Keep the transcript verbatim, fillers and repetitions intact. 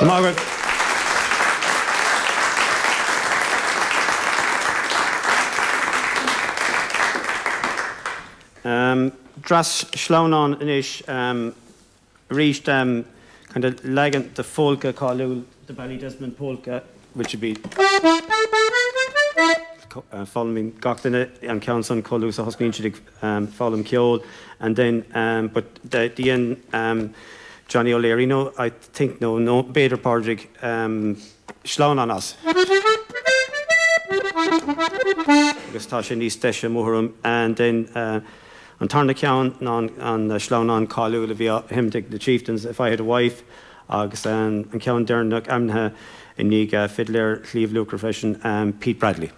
Margaret. Um, Dreas sleamhnán anois um, arís um, kind of leagan de pholca cáiliúil the Ballydesmond polka, which would be uh, following gach duine an ceann san chomh luath is a thosnaíonn siad ag um, foghlaim ceoil and then um, but the, the end um, Johnny O'Leary no I think no no b'fhéidir Pádraig um, sleamhnán as. Agus tá sé níos deise mórm and then uh, an tarna ceann ná an sleamhnán cáiliúil a bhí á sheinm ag the Chieftains if I had a wife agus um, an ceann deireanach ainmnithe i ndiaidh uh, fidléir Shliabh Luachra freisin um, Pete Bradley.